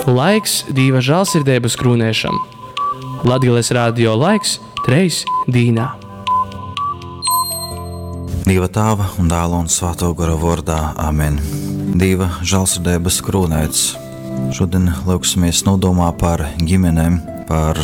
Laiks Dīva žālsirdeibas krūnēšam. Latgales radio laiks treis dīnā. Dieva Tāva un Dēla un Svētā Gora vārdā. Amen. Dieva žēlsirdības krūnēts. Šodien lūgsimies nodomā par ģimenēm, par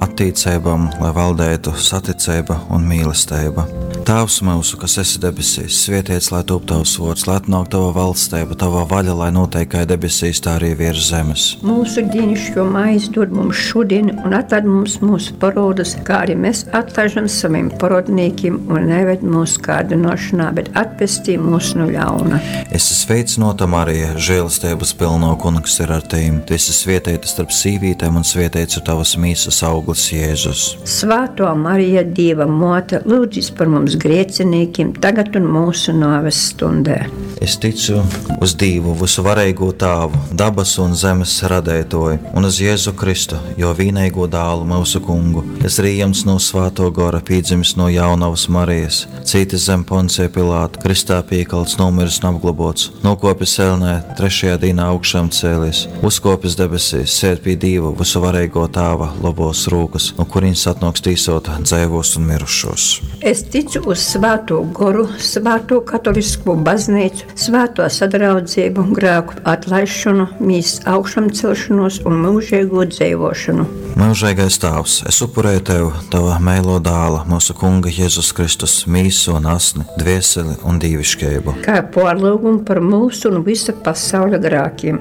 attiecībām, lai valdētu saticība un mīlestība. Tēvs mūsu, kas esi debesīs, svētīts lai top tavs vārds, lai atnāk tava valstība, tava vaļa, lai notiek kā debesīs, tā arī virs zemes. Mūsu dienascho maizi dod mums šodien, un atlaid mums mūsu parodus, kā arī mēs atlaižam saviem parodniekiem, un neved mūsu kārdinošanā, bet atpestī mūs no ļauna. Esi sveicināta, Marija, žēlastības pilno kungs ir ar tevi. Tu esi svētīta starp sīvītēm, un svētīts ir tavas mīsas auglis Jēzus. Svētā Marija, Dieva mote, lūdzis par mums grēciniekiem, tagad un mūsu nāves stundē. Es ticu uz Dievu, visu varīgo Tāvu, dabas un zemes radētoju, un uz Jēzu Kristu, jo vienīgo dālu mūsu kungu, kas rījams no Svēto Gora, piedzimis no jaunavas Marijas, cītis zem Poncija Pilāta, kristā piekalts, nomiris un apglobots, nokopis elnē, trešajā dienā augšām cēlies, uzkopis debesīs, sēd pie Dieva, visu varīgo Tāva labos rūkas, no kurienes atnāks tīsot dzīvos un mirušos. Es ticu uz Svēto Goru, Svēto katolisko baznīcu, Svēto sadraudzību, grēku atlaišanu, mīs augšām celšanos un mūžīgo dzīvošanu. Mūžīgais Tēvs, es upurēju Tev Tava meilo dāla, mūsu Kunga Jēzus Kristus, mīsu un asni, dvieseli un dīvišķību. Kā pārlūgumu par mūsu un visa pasaules grēkiem.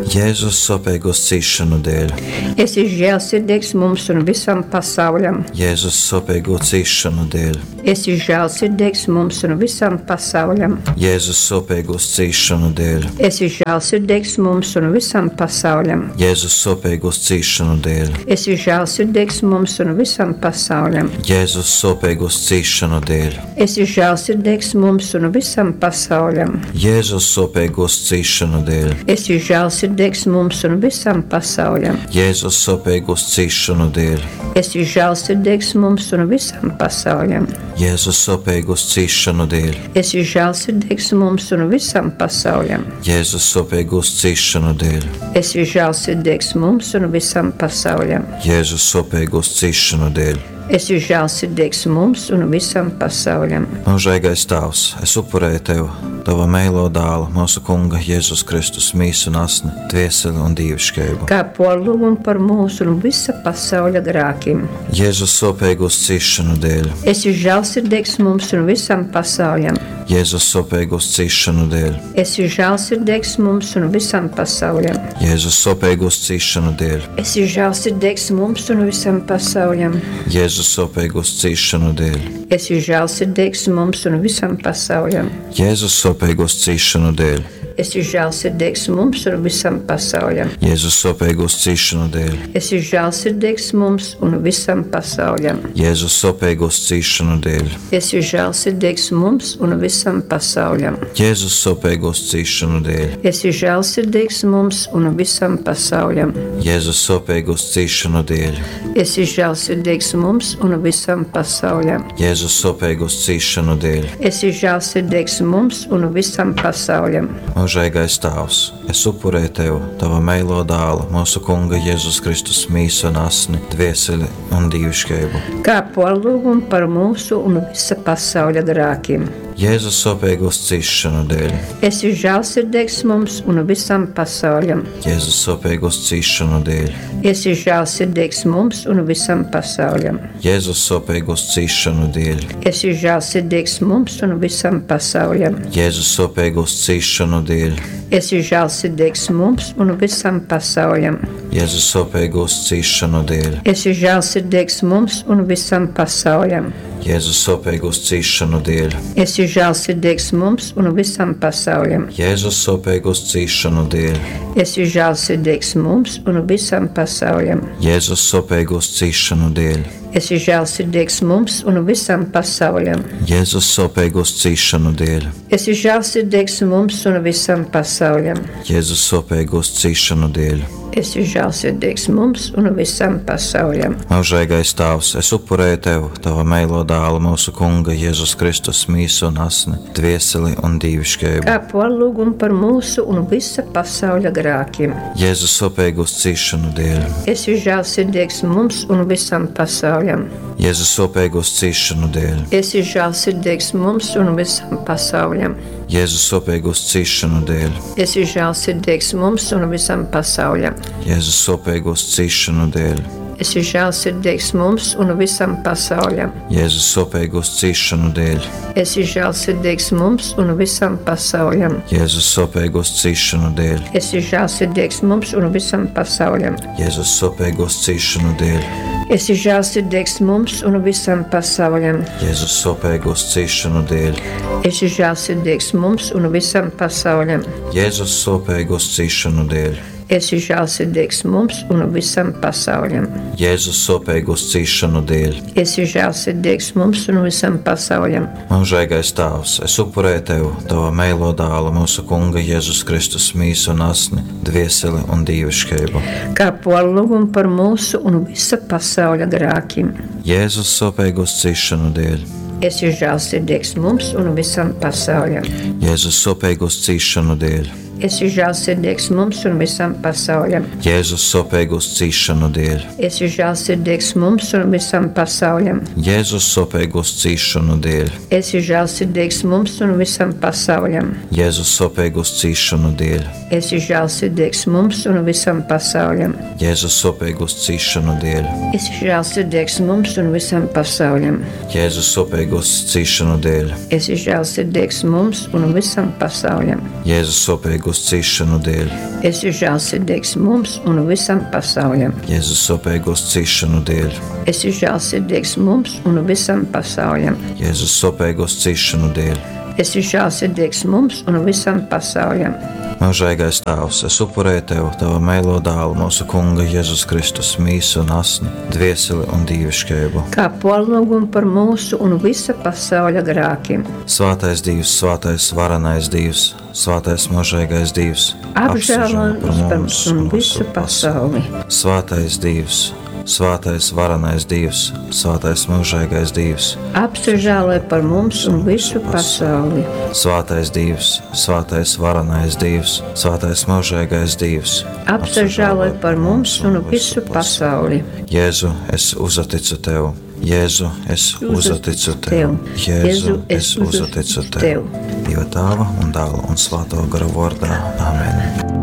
Jēzus sopīgos cīšanu dēļ, Esi žēlsirdīgs mums un visam pasauļam. Jēzus sopīgo cīšanu dēļ, Esi žēlsirdīgs mums un visam pasauļam. Jēzus sopīgos cīšanu dēļ, Esi žēlsirdīgs mums un visam pasauļam. Jēzus sopīgos cīšanu dēļ, Esi žēlsirdīgs mums un visam pasauļam. Jēzus sopīgos cīšanu dēļ, Esi žēlsirdīgs mums un visam pasauļam. Jēzus sopīgos cīšanu dēļ, Esi žēlsirdīgs mums un visam pasauļam. Jēzus sopīgos cīšanu dēļ, Esi žēlsirdīgs mums un visam pasauļam. Jēzus sopīgos cīšanu dēļ, Esi žēlsirdīgs mums un visam pasauļam. Jēzus sopīgos cīšanu dēļ, Esi žēlsirdīgs mums un visam pasauļam. Jēzus sopīgos cīšanu dēļ. Esi žēlsirdīgs mums un visam pasauļam. Mūžīgais Tēvs, es upurēju Tev Tava meilo dālu, mūsu Kunga Jēzus Kristus, mīsu un asni, dvieseli un dīvišķību. Kā porlūgumu par mūsu un visa pasaules grēkiem. Jēzus sopīgos cīšanu dēļ, Esi žēlsirdīgs mums un visam pasauļam. Jēzus sopīgos cīšanu dēļ, Esi žēlsirdīgs mums un visam pasauļam. Jēzus sopīgos cīšanu dēļ, Esi žēlsirdīgs mums un visam pasauļam. Jēzus sopīgos cīšanu dēļ, Esi žēlsirdīgs mums un visam pasauļam. Jēzus sopīgos cīšanu dēļ, Esi žēlsirdīgs mums un visam pasauļam. Jēzus sopīgos cīšanu dēļ, Esi žēlsirdīgs mums un visam pasauļam. Jēzus sopīgos cīšanu dēļ, Esi žēlsirdīgs mums un visam pasauļam. Jēzus sopīgos cīšanu dēļ, Esi žēlsirdīgs mums un visam pasauļam. Jēzus sopīgos cīšanu dēļ, Esi žēlsirdīgs mums un visam pasauļam. Jēzus sopīgos cīšanu dēļ. Esi žēlsirdīgs mums un visam pasauļam. Mūžīgais Tēvs, es upurēju Tev Tava meilo dālu, mūsu Kunga Jēzus Kristus mīsu un asni, dvieseli un dīvišķību. Kā porlūgumu par mūsu un visa pasaules grēkiem. Jēzus sopīgos cīšanu dēļ, Esi žēlsirdīgs mums un visam pasauļam. Jēzus sopīgos cīšanu dēļ, Esi žēlsirdīgs mums un visam pasauļam. Jēzus sopīgos cīšanu dēļ, Esi žēlsirdīgs mums un visam pasauļam. Jēzus sopīgos cīšanu dēļ, Esi žēlsirdīgs mums un visam pasauļam. Jēzus sopīgos cīšanu dēļ, Esi žēlsirdīgs mums un visam pasauļam. Jēzus sopīgos cīšanu dēļ, Esi žēlsirdīgs mums un visam pasauļam. Jēzus sopīgos cīšanu dēļ, Esi žēlsirdīgs mums un visam pasauļam. Jēzus sopīgos cīšanu dēļ, Esi žēlsirdīgs mums un visam pasauļam. Jēzus sopīgos cīšanu dēļ, Esi žēlsirdīgs mums un visam pasauļam. Jēzus sopīgos cīšanu dēļ. Esi žēlsirdīgs mums un visam pasauļam. Mūžīgais Tēvs, es upurēju Tev Tava meilo dāla, mūsu Kunga Jēzus Kristus mīsu un asni, dvieseli un dīviškeibu. Kā porlūgumu par mūsu un visa pasauļa grākiem. Jēzus sopīgos cīšanu dēļ. Esi žēlsirdīgs mums un visam pasauļam. Jēzus sopīgos cīšanu dēļ. Esi žēlsirdīgs mums un visam pasauļam. Jēzus sopīgos cīšanu dēļ. Esi žēlsirdīgs mums un visam pasauļam. Jēzus sopīgos cīšanu dēļ. Esi žēlsirdīgs mums un visam pasauļam. Jēzus sopīgos cīšanu dēļ. Esi žēlsirdīgs mums un visam pasauļam. Jēzus sopīgos cīšanu dēļ. Esi žēlsirdīgs mums un visam pasauļam. Jēzus sopīgos cīšanu dēļ. Esi žēlsirdīgs mums un visam pasauļam. Jēzus sopīgos cīšanu dēļ. Esi žēlsirdīgs mums un visam pasauļam. Jēzus sopīgos cīšanu dēļ. Esi žēlsirdīgs mums un visam pasauļam. Jēzus sopīgos cīšanu dēļ. Esi žēlsirdīgs mums un visam pasauļam. Mūžīgais Tēvs, es upurēju Tev Tava meilo dālu, mūsu Kunga Jēzus Kristus mīsu un asni, dvieseli un dīviškeibu. Kā porlūgumu par mūsu un visa pasauļa grākiem. Jēzus sopīgos cīšanu dēļ. Esi žēlsirdīgs mums un visam pasauļam. Jēzus sopīgos cīšanu dēļ. Esi žēlsirdīgs mums un visam pasauļam. Jēzus sopīgos cīšanu dēļ. Esi žēlsirdīgs mums un visam pasauļam. Jēzus sopīgos cīšanu dēļ. Esi žēlsirdīgs mums un visam pasauļam. Jēzus sopīgos cīšanu dēļ. Esi žēlsirdīgs mums un visam pasauļam. Jēzus sopīgos cīšanu dēļ. Esi žēlsirdīgs mums un visam pasauļam. Jēzus sopīgos cīšanu dēļ. Esi žēlsirdīgs mums un visam pasauļam. Jēzus sopīgos cīšanu dēļ. Esi žēlsirdīgs mums un visam pasauļam. Jēzus sopīgos cīšanu dēļ. Esi žēlsirdīgs mums un visam pasauļam. Jēzus sopīgos cīšanu dēļ. Esi žēlsirdīgs mums un visam pasauļam. Mūžīgais Tēvs, es upurēju Tev Tava meilo dālu, mūsu Kunga Jēzus Kristus mīsu un asni, dvieseli un dīviškeibu. Kā porlūgumu par mūsu un visa pasauļa grākiem. Svētais Dievs, svētais varenais Dievs, svētais mūžīgais Dievs, Apžēlo par mums un visu pasauli. Svētais Dievs, svētais varenais Dievs, svētais mūžīgais Dievs, Apsažēlo par mums un visu pasauli. svētais Dievs, svētais varenais Dievs, svētais mūžīgais Dievs. Apsažēlo par mums un visu pasauli. Jēzu, es uzticu tev. Jēzu, es uzticu tev. Jēzu, es uzticu tev. Dieva tēva un dēla un svēto gara vārdā. Amen.